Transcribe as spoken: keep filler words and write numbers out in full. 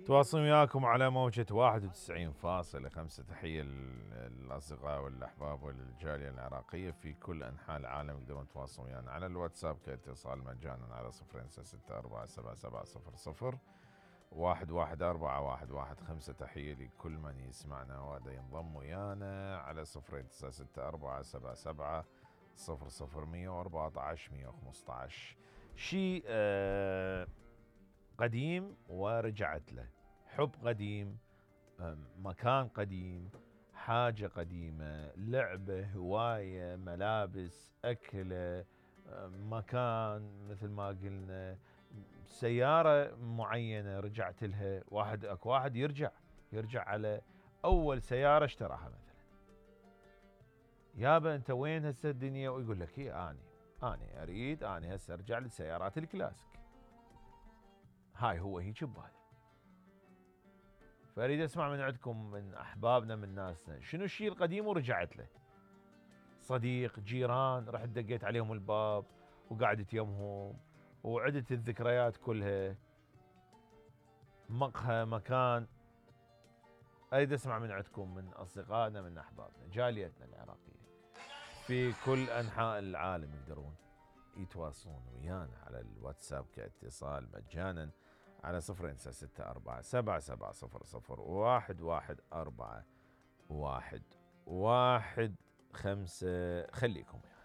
تواصل وياكم على موجة واحد وتسعين فاصلة خمسة. تحية للأصدقاء والأحباب والجالية العراقية في كل أنحاء العالم. يقدرون يتواصلون ويانا على الواتساب كاتصال مجانا على صفر ستة أربعة سبعة سبعة صفر صفر واحد واحد أربعة واحد واحد خمسة. تحية لكل من يسمعنا وهذا ينضم ويانا على صفر تسعة ستة أربعة سبعة سبعة صفر صفر مية وأربعة عشر مية وخمسة عشر. شيء آه قديم ورجعت له، حب قديم، مكان قديم، حاجة قديمة، لعبة، هواية، ملابس، أكلة، مكان مثل ما قلنا، سيارة معينة رجعت لها. واحد اكو واحد يرجع يرجع على أول سيارة اشتراها مثلا. يابا أنت وين هسه الدنيا؟ ويقول لك هي أني أني أريد أني هسه أرجع لسيارات الكلاسيك. هاي هو هيك ببالي. فأريد أسمع من عندكم، من أحبابنا، من ناسنا، شنو الشيء القديم ورجعت له؟ صديق، جيران، رحت دقيت عليهم الباب وقعدت يمهم وعدت الذكريات كلها، مقهى، مكان. أريد أسمع من عندكم، من أصدقائنا، من أحبابنا، جاليتنا العراقية في كل أنحاء العالم. يقدرون يتواصلون ويانا على الواتساب كاتصال مجانا على صفر تسعة ستة أربعة سبعة سبعة صفر صفر واحد واحد أربعة واحد واحد خمسة. خليكم ويانا.